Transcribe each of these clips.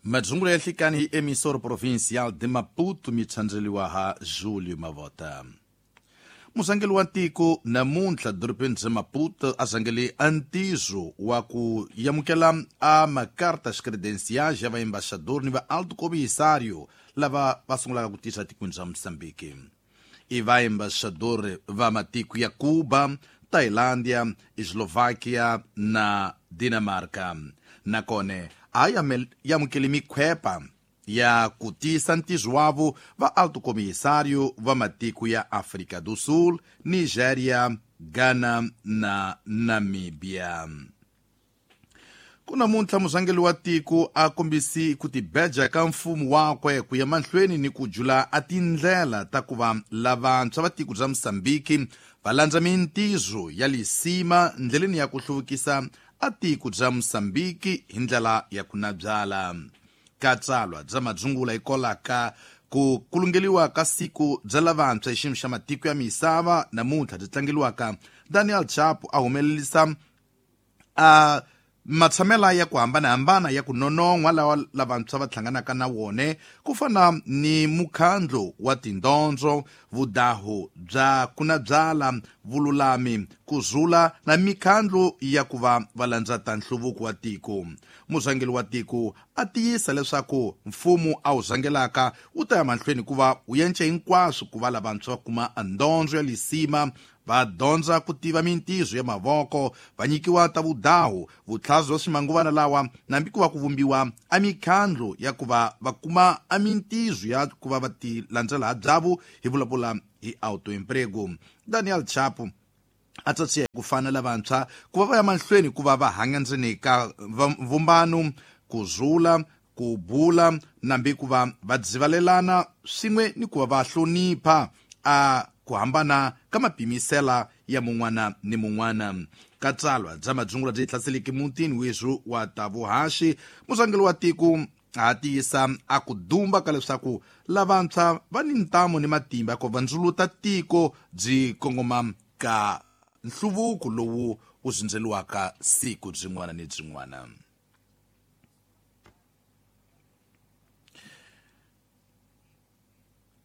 Madzungulo ya nhlikani hi Emissora Provincial de Maputo mi tshandzeliwa ha Julio Mavota. Muzangeli wa tiko namuntlha dorobeni bya Maputo a zangele a ntizo wa ku yamukela a macartas credenciais ya vaembaxador ni va alto comissário lava va sungulaka ku tisa tikweni bya Moçambique. I vaembaxador va matiko ya Cuba, Tailândia, Eslováquia na Dinamarca. Nakone a yamukele mikhwepa ya ku tisa ntizo wavo va alto comissário va matiko ya África do Sul, Nigéria, Ghana na Namíbia. Ku namuntlha muzangeli wa tiko a kombisi ku tibeja ka mfumo wakwe ku ya mahlweni ni ku jula a tindlela ta ku va lavantshwa va tiko bya Moçambique va landza mintizo ya lisima ndleleni ya ku hluvukisa a tiko bya Moçambique hi ndlela ya ku nabyala. Ka tsalwa bya madzungula hikwalaho ku kulungeliwa ka siku bya lavantshwa hi xiyimo xa matiko ya misava namuntlha byi tlangeliwaka, Daniel Chapo a humelerisa a matshamela ya ku hambanahambana ya ku nonon'hwa lawa lavantshwa va hlanganaka na wone, ku fana ni mukhandlu wa tindondzo, vudahu bya kunabyala, vululami, ku zula na mikhandlu ya ku va va landza ta nhluvuko wa tiko. Muzangeli wa tiko a tiyisa leswaku mfumo a wu zangelaka wu ta ya mahlweni ku va wu yence hinkwaswo ku va lavantshwa va kuma ndondzo ya lisima, va dyondza ku tiva mintizo ya mavoko, va nyikiwa ta vudahu, vutlhazi bya swimanguvana lawa, nambi ku va ku vumbiwa a mikhandlu ya ku va va kuma a mintizo ya ku va va ti landzela ha byavo, hi vulavula hi autoemprego. Daniel Chapo a tsatsiya hi ku fana lavantshwa ku va va ya mahlweni ku va va hanya ndzeni ka vumbano, ku zula, ku bula, nambi ku va va dzivalelana swin'we ni ku va va hlonipha a ku hambana ka mapimisela ya mun'wana ni mun'wana. Ka tsalwa bya madzungula byi hlaseleke mutini weswu wa tavuhaxi, muzangeli wa tiko a tiyisa a ku dumba ka leswaku lavantshwa va ni ntamu ni matimba ku va ndzuluta tiko byi kongoma ka nhluvuko lowu wu zindzeliwaka siku byin'wana ni byin'wana.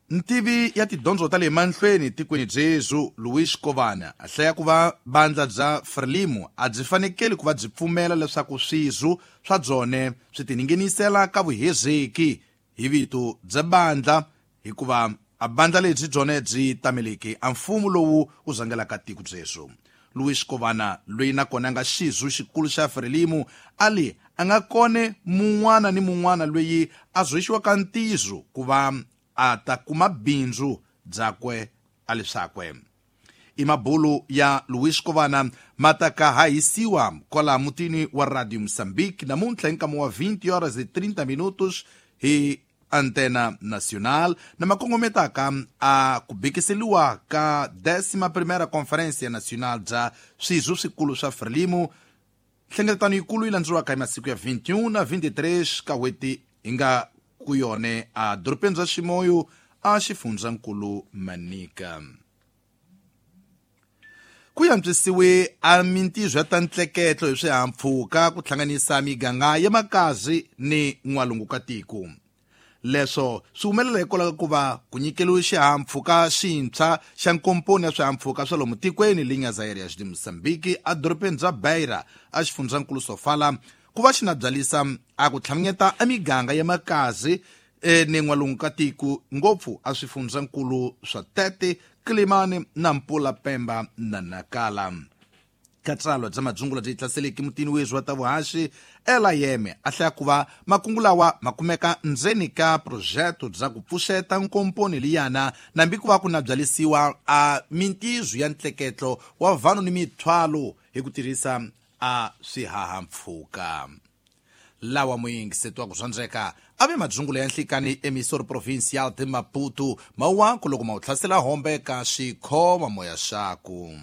Ntivi ya tidyondzo ta le mahlweni tikweni byezu Luis Kovana a hlaya ku va bandla bya Frelimo a byi fanekeli ku va byi pfumela leswaku swizu swa byone swi tiningenisela ka vuhezeki hi vito bya bandla, hikuva a bandla lebyi byone byi tameleke a mfumo lowu wu zangelaka tiko byeswo. Luis Kovana, loyi nakona a nga xizu xikulu xa Frelimo, a li a nga kone mun'wana ni mun'wana loyi a zoxiwaka ntizo ku va a ta kuma bindzu byakwe a leswakwe. I mabulu ya Luis Kovana ma ta ka hahisiwa kwala mutini wa Radio Mozambique namuntlha hi nkama wa 20 horas e 30 minutos hi Antena Nacional, na makongometaka a ku bekiseliwa ka 11ª Conferência Nacional bya swizu swikulu swa Frelimo. Nhlengeletano yikulu yi landzeriwaka hi masiku ya 21 na 23 ka n'hweti hi nga ku yone a dorobeni bya Ximoyo a xifundzankulu Manica. Ku yantswisiwe a mintizo ya ta ntleketlo hi swihahampfhuka ku hlanganisa miganga ya Makazi ni n'walungu ka tiko. Leswo swi humelela hikwalaho ka ku va ku nyikeliwe xihahampfhuka xintshwa xa nkomponi ya swihahampfhuka swa lomu tikweni Linhas Aéreas de Moçambique a dorobeni bya Beira a xifundzankulu Sofala, ku va xi na byalisa a ku tlhamanyeta a miganga ya Makazi ni n'walungu ka tiko, ngopfu a swifundzankulu swa Tete, Quelimane, Nampula, Pemba na Nacala. Ka tsalwa bya madzungula byi hlaseleke mutini wezwi wa ta vuhaxi Ela Yeme a hlaya ku va makungu lawa ma kumeka ndzeni ka projeto bya ku pfuxeta nkomponi liyana, nambi ku va ku na byalisiwa a mintizo ya ntleketlo wa vanhu ni mithwalo hi ku tirhisa a swihahampfhuka. Lawa muyingiseti wa ku zwandzeka a ve madzungula ya nhlikani Emissor Provincial de Maputo, mawako loko ma wu hlasela hombe ka xikhoma moya xaku.